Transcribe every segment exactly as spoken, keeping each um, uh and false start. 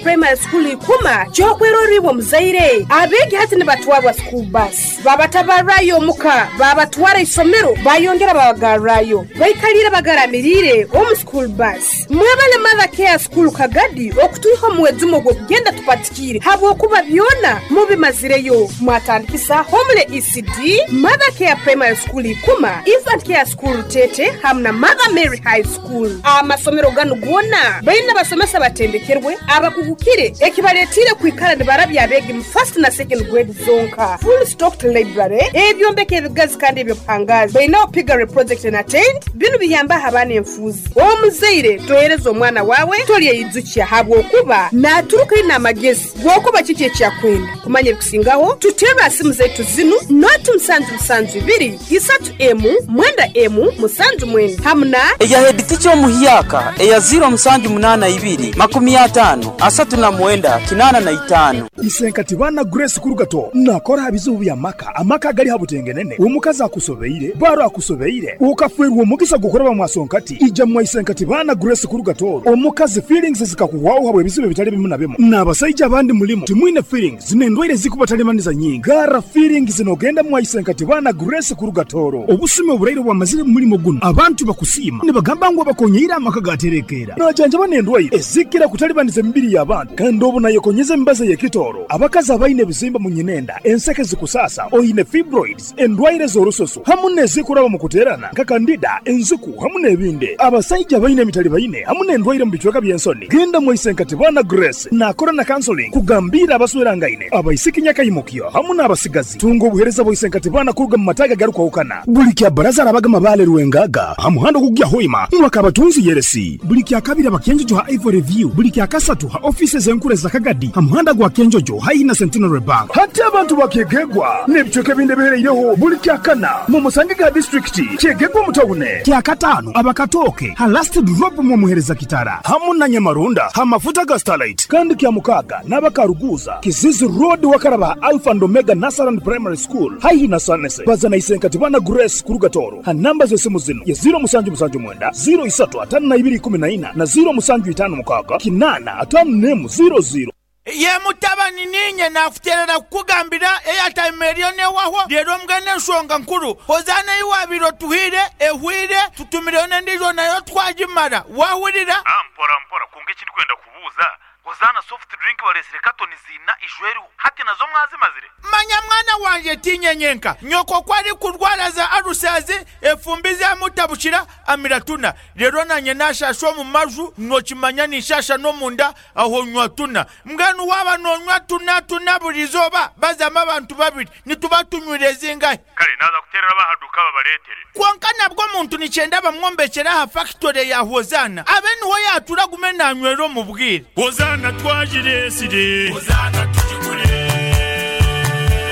Primary School ikuma kyokweroribwa muzaire abeegi hati nibatwarwa school bus, babatabarrayo omuka, babatwara isomero, bayongera babagarrayo, baikalire bagaramirire omu school bus. Mwebale Mother Care School Kagadi okutuiha omuwezumo ogw'okugenda tupatikire habwokuba byona mubimazireyo. Mwatandikisa Homule E C D, Mother Care Primary School Ikuma, Infant Care School Tete hamu na Mother Mary High School. Amasomero ganu gona baina basomesa batendekerwe abakugukire ekibaletire kwikara nibarabya abeegi mu first na second grade zonka. Full stocked library, ebyombeko ebigazi kandi ebyobuhangazi. Bainaho piggery project na tent. Binu biyambaho abaana enfuuzi. Omuzaire tohereza omwana wawe tolyeyijukya habwokuba naturuka ina amagezi gwokuba kiki ekyakwenda kumanya. Ebikusingaho tuterwa simu zaitu zinu: noti musanju musanju ibiri isatu emu mwenda emu musanju mwenda hamu na eya head teacher omuhyaka eya ziro musanju munana ibiri makumi atano asatu na mwenda kinana na itano. Isenkati bana Grace Kurugato nakora bizibu bya maka, amaka gali habutengenene, omukazi akusobeire, baro akusobeire, ukafwerwa omugisa gukoraba mwasonkati, ija mwa Isenkati bana Grace Kurugato. Omukazi feelings zikakuwawo habwe ebizibu bitali bimu na bimu, n'abasajja abandi mulimu timwine feelings n'endwaire zikubatalimaniza nyingi. Gara feelings zinogenda mwa Isenkati bana Grace Kurugatoro. Obusumi oburaire bwamazire mu mulimo guno, abantu bakusiima nibagamba ngu abakonyeire amaka gaterekeera, najanjaba n'endwaire ezikira kutalibaniza emibiri y'abantu, kandi obu nayekonyeza emibazi ey'ekitooro. Abakazi abaine ebizimba mu nyinenda, enseke zikusasa, oine fibroids, endwaire z'orususu hamu n'ezikuraba mu kuteerana nka candida, enziku hamu n'ebindi. Abasajja abaine emitali baine hamu n'endwaire mu bicweka by'ensoni, genda mu Isenkati bana Grace. Nakora na counseling kugambira abaswerangaine, abaisiki nyakayimukyo hamu n'abasigazi. Tunga obuhereza bwa Isenkati bana kuruga mu mataga garukwahukana. Buli kya baraza arabaga mabale Rwengaga ha muhanda ogugya Hoima mwaka abatunzi yeresi. Buli kya kabiri abakenjojo ha Ivory View. Buli kya kasatu ha ofisi zenkure za Kagadi ha muhanda gwa Kenjojo haihi na Centenary Bank. Hati abantu bakegegwa n'ebicweka ebindi ebihereireho, buli kya kana mu musange ga disitulikiti kyegegwa mutawune. Kya katano abakatoke ha Last Drop mu muhereza kitara hamu na Nyamarunda ha mafuta ga Starlight. Kandi kya mukaga n'abakaruguza Kizizi Road wakaraba Alpha and Omega Nursery Primary School haihi na Sanese. Bazana Isenkati bana Grace Kurugatoro ha namba z'esimu zino ya ziro musanju musanju mwenda ziro isatu atano na ibiri ikumi na ina na ziro musanju itano mukaga kinana atano nemu ziro ziro. Ye mutabani, ninye nakuterera kukugambira airtime eriyo newahwa rero. Mbwene ensonga nkuru, Hozaana iwabire otuhire ehwire, tutumireyo n'endijo nayo twagimara, wahurira? Ah, mpora mpora kunga ekindi kwenda kubuuza, Hozana soft drink balesire katoni zina ijweriho hati, nazo mwazimazire? Manya mwana wanje, tinyenyenka nyoko kwari kurwara za arusazi, efumbi zamutabukira, amira tuna. Rero nanye nashasha omu maju, nokimanya nishasha n'omunda aho nywa tuna. Mbwenu waba nonywa tuna tuna buri izooba, bazamu abantu babiri nituba tunywire zingahe? Kale naza kuterera bahaduka babaletere. Konka nabwo omuntu nikyenda bamwombekera aha factory ya Hozana, abe niho yatura gume nanywera omu bwire. Hozana twagiresire, Hozana tugigure.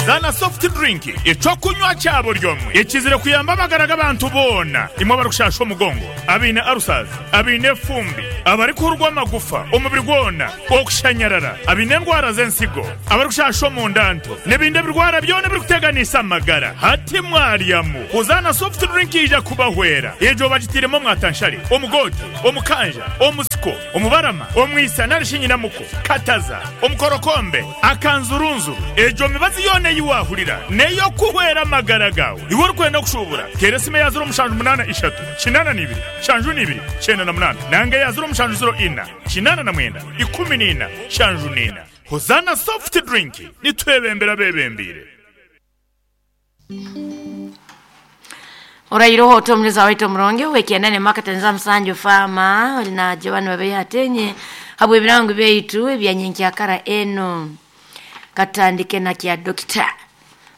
Zana soft drink, ekyokunywa kyabo ryomwe ekizire kuyamba amagara g'abantu boona. Imwe abarikushasha omugongo, abaine arusazi, abaine efumbi, abarikuhurwa amagufa omubiri gwona, okushanyarara, abaine endwara z'ensigo, abarikushasha omundanto n'ebindi ebirwara byona ebirikuteganisa amagara, hati mwaryamu Hozana soft drink ija kubahwera. Egyo bagitiremu omwatanshare, omugote, omukanja, omusiko, omubarama, omwisa narishi nyinamuko, kataza, omukorokombe, akanzurunzuru. Egyo mibazi yoona eyiwahurira neyo kuhwera amagara gawe. Iwe orikwenda kushubura, tera esimu eya ziro mushanju munana ishatu kinana n'ibiri shanju n'ibiri kyenda na munana nanga eya ziro mushanju ziro ina kinana na mwenda ikumi n'ina shanju n'ina. Hozana soft drink, nitwebembera bebembire. Orairoho otomuleza waitu omuronge wekienda makatanza musanju fama na jawani babe atenye habwe ebirango byaitu ebyanyenkyakara eno. Katandike na kya dokita,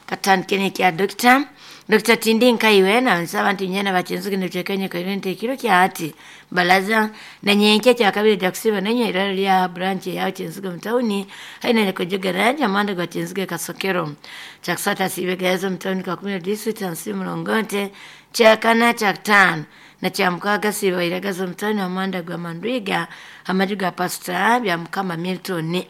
katandike ne kya dokita Dokita Tindi Nkaiwe na nsaba nti nyena bachenzuke nechekenye kairente kiro kya ati balaza na nyenke kya kabiri jakusiba nenye iralo lya branch ya Chenzuke mtauni haina nekojogera amanda gwa Chenzuke Kasokero. Chakusata sibegazo mtauni kwa kumi district ansi mlongote. Chakana, chakutano na cha mukaga siba iragazo mtauni amanda gwa Mandwiga amaju ga Pastor bya Mukama Milton.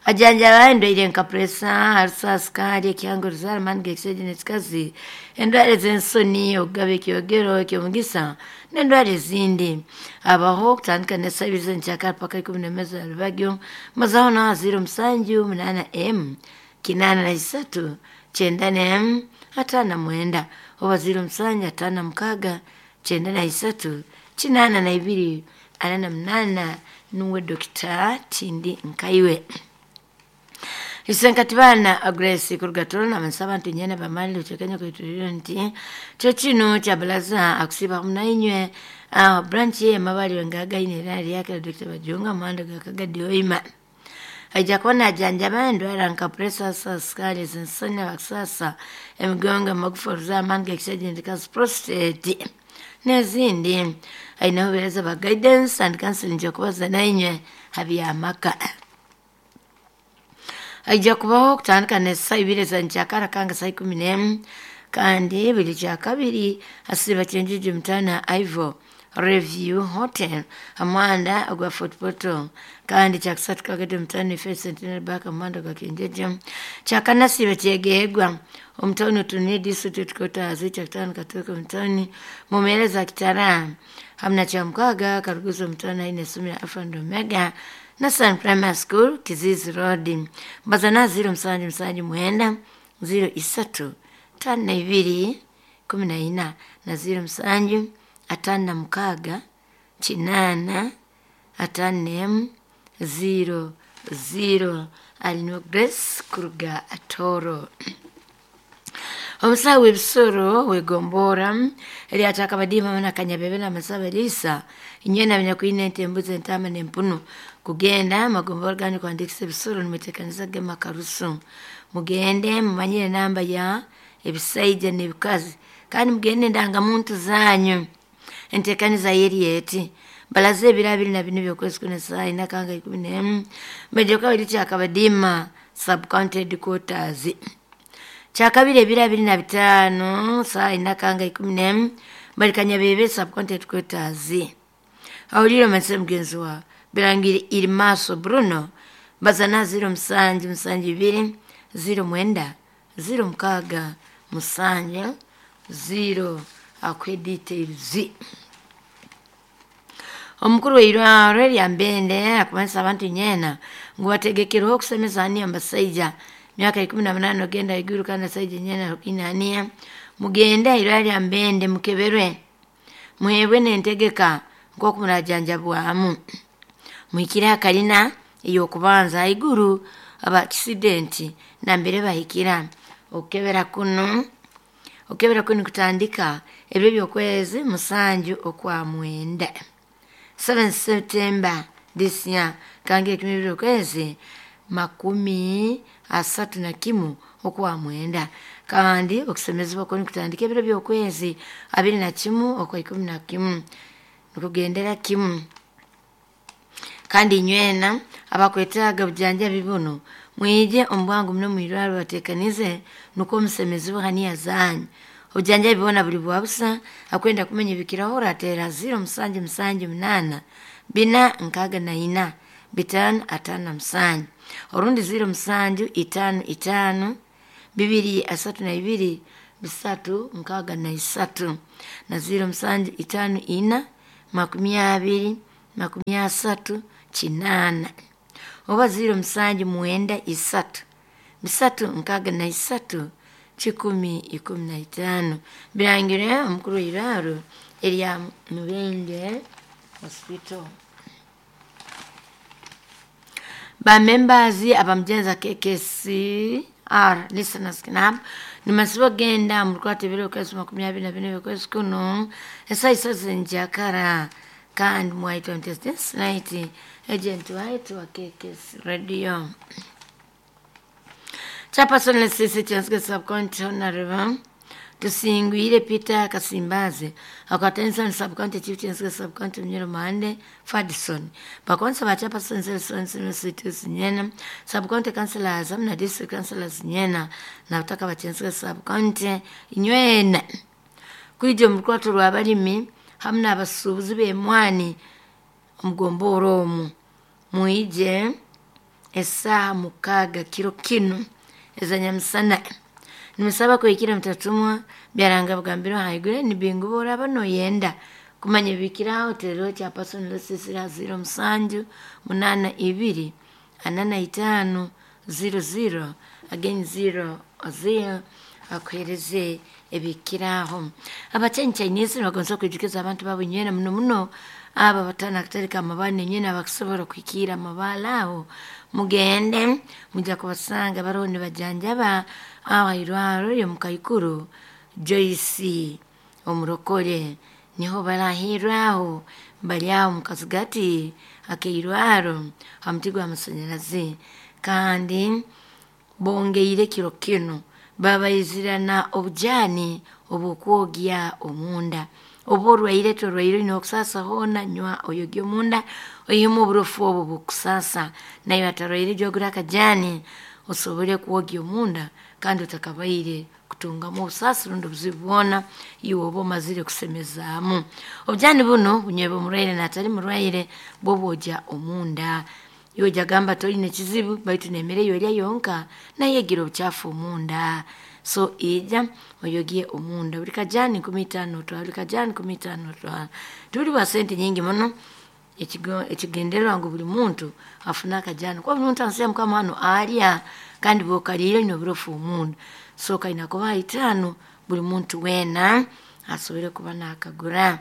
Ajanjaba endwaire nka presa, arusa, sukari, ekihango, ruzara, amani g'ekishaija n'ekikazi, endwara ez'ensoni, okugaba ekyogero eky'omugisa n'endwara ezindi. Abaho okutandika n'esaaha ibiri z'enkyakara paka ikumi n'emwe za rubagyo, mazaho naho ziro musanju munaana emu kinaana na isatu kyenda n'emu ataano na mwenda oba ziro musanju ataano na mukaaga kyenda na isatu kinaana na ibiri ana na munaana nuwe Dokita Tindi Nkaiwe. Isenkati bana Grace kuruga Toro nabansaba nti nyene bamali luchekenya kuituliro nti kyo kino kya balaza akusiba munainywe uh, branch ye mabali wengaga ine era lyake Dokita Bajunga mwando gakagadi oima aija kuba ajanjaba endwara nka pressure, sukari, ensoni, abakusasa, emigongo, amagufa, oruzaaro, amaani g'ekishaija endikazi, prostate n'ezindi. Aine obuheereza bwa guidance and counseling okubaza nainywe ha by'amaka. Aija kubaho okutandika n'esaaha ibiri za nkyakara kanga saa ikumi n'emu kandi buli kyakabiri asiiba Kyenjiji Mutana Ivo Review Hotel hamuhanda ogwa Fort Portal kandi kyakusatu kagadi Mutano Ife Centenary Bank hamuhanda gwa Kyenjeje. Kyakana siiba Kyegegwa omutawuni Otunie District Headquarters. Kyakutaano Katoke omutawuni Mumeereza Kitara hamu na kyamukaaga Karuguzo omutawuni aine essomero Alpha and Omega Nasan Primary School Kizizi Road. Mbaza na ziro musanju musanju mwenda ziro isatu tano na ibiri kumi na ina na ziro musanju atano na mukaaga kinaana atano n'emu ziro ziro. Alino Grace kuruga Atoro. Omusawo w'ebisoro wegombora eryataka badima na kanyabebe na masaba elisa inywe na ente embuzi entama n'empunu kugenda magombora gani kuandikisa ebisoro nimuteekaniza gema karusu. Mugende mumanyire namba ya ebisaija n'ebikazi kandi mugende endangamuntu zanyu. Enteekaniza yeri eti balaze ebiro abiri na bina by'okwezi kuna saa ina kanga ikumi n'emu mbeje kabiri kyakabadima sub county headquarters. Kyakabiri ebiro abiri na bitaano saa ina kanga ikumi n'emu bali Kanyabebe sub county headquarters. Awulire omanse mugenzi wa Birangiri Irimaso Bruno bazana ziro musanju musanju ibiri ziro mwenda ziro mukaaga musanju ziro akwe details. Omukuru w'eirwaro erya Mbende akumanisa abantu nyena ngu bategekerweho okusemeza aniya abasaija myaka ikumi na munaana ogenda haiguru kandi abasaija nyena aniya mugende airwaro lya Mbende mukeberwe muhebwe n'entegeka nk'oku murajanjabwamu. Muhikire akalina ey'okubanza haiguru aba accident nambere bahikira. Okukebera kuno okukebera kuno kutandika ebiro by'okwezi musanju okwa mwenda seven September this year kange ekumi ebiro okwezi makumi asatu na kimu okwa mwenda kandi okusemezebwa kuno kutandika ebiro by'okwezi abiri na kimu okwa ikumi na kimu nikugendera kimu. Kandi inywena abakwetaaga bujanjabi buno mwije omubwangu muno mwirwaro bateekanize nukwo omusemezibwe haniya zanyu. Obujanjabi bwona buli bwa busa. Akwenda kumenya ebikiraho orateera ziro musanju musanju munaana bina nkaaga na ina bitaano ataano na musanju orundi ziro musanju itaano itaano bibiri asatu na ibiri bisatu nkaaga na isatu na ziro musanju itaano ina makumi abiri makumi asatu kinaana oba ziro musanju mwenda isatu bisatu nkaaga na isatu kikumi ikumi na itaano. Birangire omukuru w'eirwaro erya Mubende Hospital. Ba members abamujenza K K C R Listeners Club nimasiba genda murukwata ebiro okwezi makumi abiri na bina by'okwezi kuno esaaha isatu z'enjakara kandi mwaitwa this night agent waitu wa K K C Radio. Chairperson Lesisi Kyensiga Sub-County Honorable Tusingwire Peter Kasimbazi akwatanisa Sub-County Chief Kyensiga Sub-County Munyoro Mande Fadison bakonsa ba Chairperson Selson Cities nyena Sub-County Councillors na District Councillors nyena na butaka ba Kyensiga Sub-County inywena kwije mu rukwato rw'abalimi hamwe n'abasuubuzi b'emwani omugombora omu mwije Esaha mukaga kiro kinu ezanyamusana nimusaba kwekira mutatumwa byaranga bugambiro haigure nibingu boraba noyenda kumanya bikiraho tero kya person lesisira zero musanju munana ibiri anana itano zero zero again zero zero akuhereze ebikiraho. Abachenyi Chinese bagonza kwijukiza abantu babo nywena muno muno aba batana kutereka amabane nywena bakusobola kwikira amabala aho mugende mujja kubasanga bariho nibajanjaba aho irwaro yo mukaikuru Joyce omurokore niho barahirwaho bali aho mukazigati akeirwaro ha muti gw'amasanyarazi kandi bongeire kiro kino babaizirana obujani obukwogya omunda oba orwaire torwaire nokusasa hona nywa oyogya omunda oyimu oburofu obwo bukusasa nayo atarwaire jogura akajani osobole kwogya omunda kandi otakabaire kutungamu obusasi rundi obuzibu bwona iwe oba omazire kusemezaamu. Obujani buno bunywebwa omurwaire natali murwaire bwobwogya omunda iwe jagamba toine kizibu baitu nemere yorya yonka nayegira obuchafu omunda. So ija oyogie omunda buli kajani nkumi itaano otwala buli kajani nkumi itaano otwala tuli bwa sente nyingi muno ekigendererwa ngu buli muntu afune akajani kuba buli muntu ansiya mukama hano alya kandi bwokaliire oine oburofu omunda. So kaina kuba itaano buli muntu weena asobole kuba nakagura.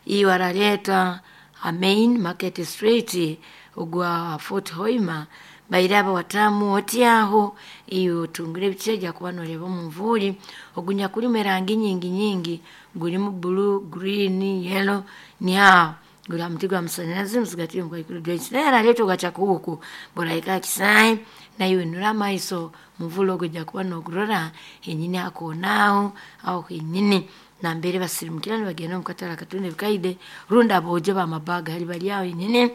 Iwe araleeta a main market street ogwa Fort Hoima bairaba watamu otyaho iyo otungire ebicheja kuba noreba omunvuri ogunya kulimu erangi nyingi nyingi gulimu blue, green, yellow niaho guli ha muti gw'amasanyarazi musigati mukaikuru Joyce naye araleeta ogachakuuku buraika kisai nayo nura amaiso muvule ogwo ojja kuba nogurora henyini akoonaaho aho henyini nambere basirimukira nibagenda omukatale akatunda ebikaide rundi aboojo bamabaga hali bali aho henyini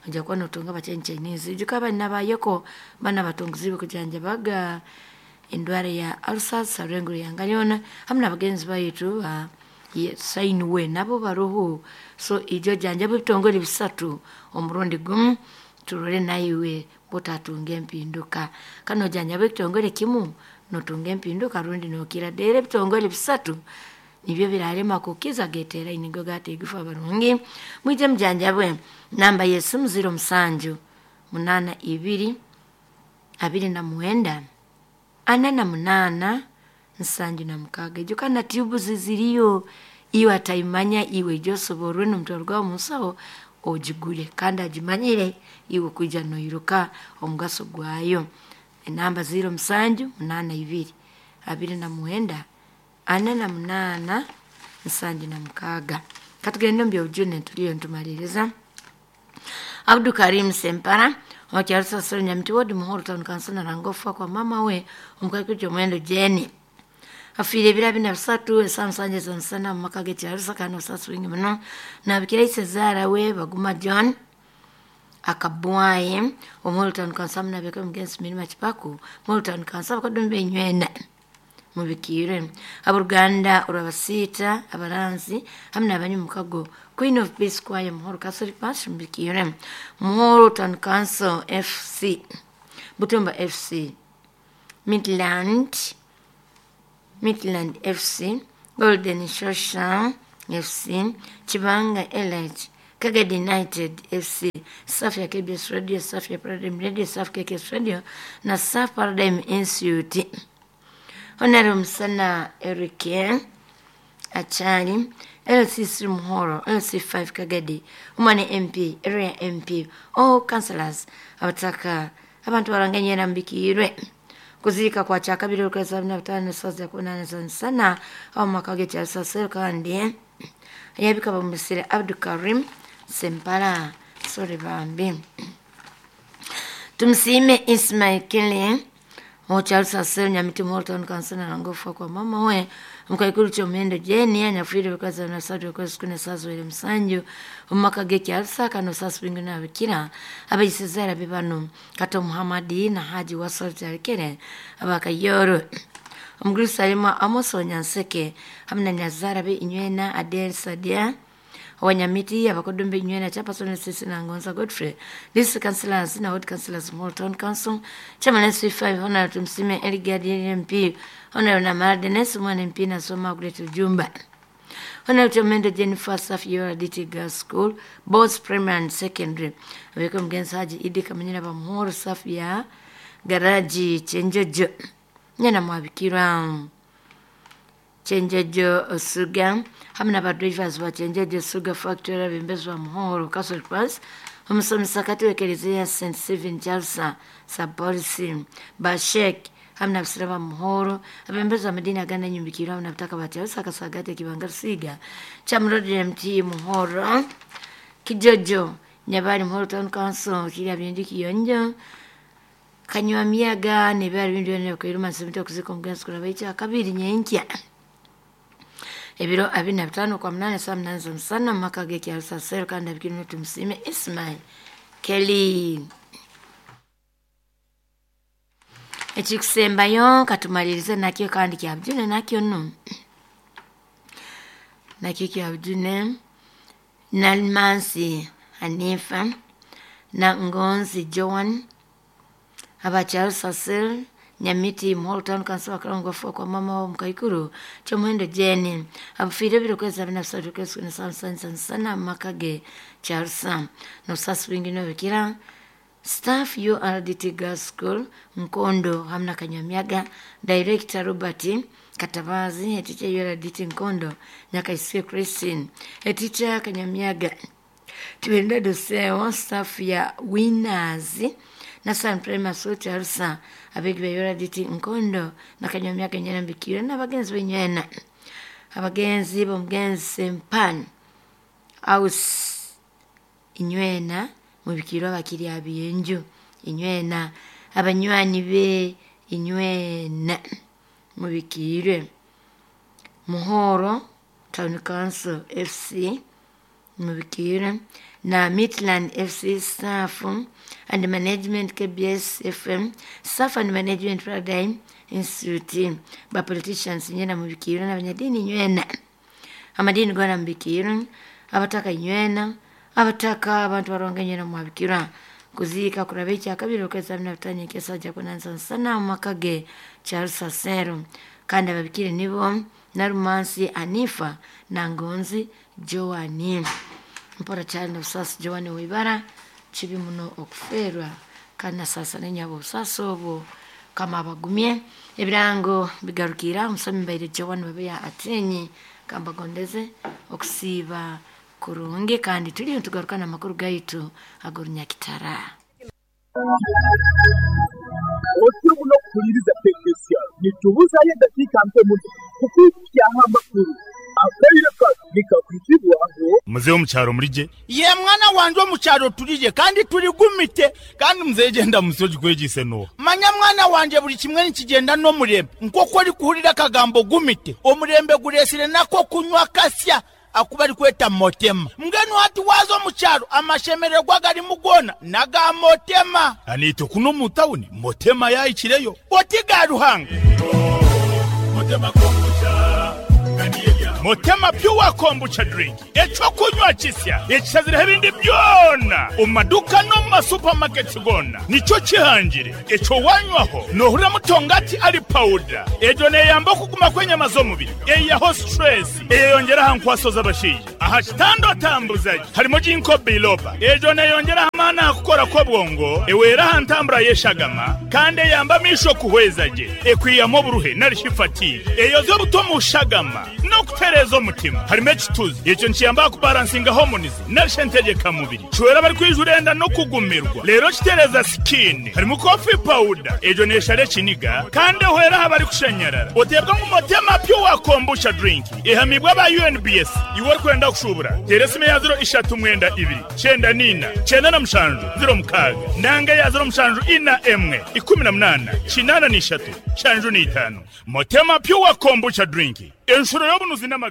ojja kuba notunga abachenyi Chinese. Ijuka abana bayeko bana batungiziibwe kujanjabaga endwara ya ulcers harwenguru yanga yoona hamu n'abagenzi baitu sainiwe nabo baruhu. So ijo janjaba ebitongole bisatu omurundi gumu turore naiwe bwotatunga empinduka. Kandi nojanjaba ekitongole kimu notunga empinduka rundi nokira dera ebitongole bisatu nibyo birarema kukiza geteraine nigo gateigufa barungi mwije mujanjabwe. Namba yesimu ziro musanju munana ibiri abiri na mwenda ana na munana nsanju na mukaga. Ijuka na tube ziziriyo iwe ataimanya iwe josoborwe n'omutwaro gwawe omunsaho ogigure kandi agimanyire iwe kwija noiruka omugaso gwayo. Enamba ziro musanju munana ibiri abiri na mwenda ana na munana nsanju na mukaga. Katugende omu byobujune tuliyo nitumaliriza. Abdu Karim Sempara okyarusasiro Nyamiti ward Muhoro town council narangofa kwa mama we omukaikuru Omwendo Jeni afiire ebiro abiri na bisatu esaa musanja ez'omusana omu maka g'ekyarusa kandi obusaasi bwingi muno. Nabikira isezaara we Baguma John akabwaye Omuhoro town council munabeka omugenzi Mirima Kipaku Muhoro town council abakoddomi benywena mubikiire aboruganda orwabasiita abaranzi hamu n'abanywi mukago Queen of Peace Choir Muhoro Catholic Parish mubikiire Muhoro Town Council F C Butumba F C Midland Midland F C Golden Shosha F C Chibanga Elite Kagadi United F C Safi K B S Radio Safi Paradigm Radio Safi K K S Radio na Safi Paradigm Institute. Honorable Musana Eric Achali L C three Muhoro L C five Kagadi Umane M P Area M P all councillors abataka abantu baranganye nambikirwe kuzirika kwa kyakabiri olwezi abiri na bitaano esaawa ya kumi n'ana sana aho mu maka g'ekyarusasiro kandi yabika bamusire Abdu Karim Sempala sore bambi. Tumusiime Ismail Kele okyarusasiro Nyamiti Muhoro Town Council narangofa kwa mama we mukaikuru ky'omuhendo Jeni anyafiire bikaza na satu okwezi kune esaawa ziwere musanju omu maka g'ekyarusa kandi obusaasi bwingi nabikira abaisizaara be bano Kato Muhammadi na Haji Wasol Tarekere abakayoro Omugurisa alimu Amos Onyanseke hamu na nyazaara be Inywena Adel Sadia Owanyamiti abakodumbe nywena chairperson Sisi na Ngonza Godfrey district councillors na ward councillors Muhoro Town Council chairman S C five Honorable Tumsime Eligad M P Honorable Namara Dennis Mwana M P na Soma Great Jumba Honorable Mendo Jennifer Safi U R D T Girls School both primary and secondary abeko mgenzi Haji Idi Kamanyira ba Muhoro Safi ya garaji Chenjojo nyana mwabikira Chenjojo Suga hamwe n'aba drivers ba Chenjojo Suga Factory abembezi Muhoro Castle Pass omusomesa katiwekereziya Saint Stephen Jalsa Sapolisi Bashek hamwe n'abasira ba Muhoro abembezi amadini agana nyumbikiro hamwe n'abutaka ba Jalsa Kasagate Kibanga Rusiga Chamrodi M T Muhoro Kijojo Nyabari Muhoro Town Council kirya bindi kiyonjo kanywa miyaga nebyari bindi byonna kwiruma nsimito kuzika omugenzi kulaba ekya kabiri nyenkya ebiro abiri na bitano kwa munane saa munane z'omusana mu maka g'ekyalo Sasero kandi abikirimu Tumusiime Ismail Kelly. Ekikusembayo katumalirize nakyo kandi kyabujune nakyo nno nakyo kyabujune Nalmansi Hanifa na Ngonzi Joan abakyalo Sasero Nyamiti Muhoro Town Council bakalongofu kwa mama wa Mukaikuru Kyomuhendo Jane abufiire ebiro kwezi abiri na bisatu kwezi kumi na sano sana maka ge Charles n'obusasi bwingi n'obukira staff U R D T Girls School Nkondo hamwe na Kanyamyaga Director Robert Katabazi teacher U R D T Nkondo Nyakaisiwe Christine teacher Kanyamyaga Tibenda Doseo staff ya Winners na San Prima School Charles abegi ba U R D T Nkondo na Kanyamyaga nyana mbikira n'abagenzi benywena abagenzi b'omugenzi Sempan House inywena mubikirwa bakiri abiyenju inywena abanywani be inywena mubikirwe Muhoro Town Council F C mubikirwe na Midland F C staff and management K B S F M staff and management Paradigm Institute ba politicians nyena mubikirwe n'abanyadini nywena amadini gona mubikirwe abataka nywena abataka abantu baronga nyena mwabikira kuzika kuraba ekya kabiri okwezi abiri na bitano ekesajja kunansa nsana mu maka ge Charles Sasero kandi ababikire nibo Narumansi Anifa na Ngonzi Joani mpora cyane obusasi Joani wibara kibi muno okuferwa kandi nasasa nenyabo obusasi obwo kama abagumye ebirango bigarukira omusomi mbaire Joani babeya atenyi kambagondeze okusiiba kurungi kandi tuli tugarukana amakuru gaitu agorunyakitara otyo muno kuhuliriza pekesya nitubuzayo eddakiika mpe muno kukwikyaho amakuru akaire nikakwitibwaho muzehe omukyaro mulije ye mwana wanje omukyaro tulije kandi tuligumite kandi muzehe genda musoji kwegise no manya mwana wanje buli kimwe nikigenda n'omurembe nk'oku orikuhurira akagambo gumite omurembe guresire nako kunywa kasya akuba ari kweta motema mbwenu hati waza omukyaro amashemererwa garimu gona naga motema anite kuno mu tawuni motema yayikireyo oti ga ruhanga motema kombucha Motema pure kombucha drink ekyokunywa kisya ekisazire ebindi byona omu maduka no mu masupamaketi gona nikyo kihangire ekyo wanywaho nohurira mutongati ali powder egyo neyamba okuguma kw'enyama z'omubiri eyaho stress eyeyongera aha nkwaso z'abashaija aha kitando atambuzaji harimo ginkgo biloba egyo neyongera amaani aha kukora kw'obwongo ewera aha ntambura y'eshagama kandi eyamba amisho kuhweza gye ekwiyamu oburuhe narishi fatigue eyoza obuto mu shagama n'okutereeza omutima harimo ekituzi ekyo nikiyamba kubalansinga hormones narishe ntegekamubiri kiwera bari kwijura enda n'okugumirwa rero kitereeza skin harimo coffee powder egyo neshara ekiniga kandi ehwera aha bari kushanyarara oteebwa ngu motema pure kombucha drink ehamibwa aba U N B S iwe orikwenda kushubura teera esimu ya ziro ishatu mwenda ibiri kyenda nina kyenda na mushanju ziro mukaaga nanga ya ziro mushanju ina emwe ikumi na munana kinana n'ishatu shanju n'itaano motema pure kombucha drink enshuro y'obunuzi n'amagara.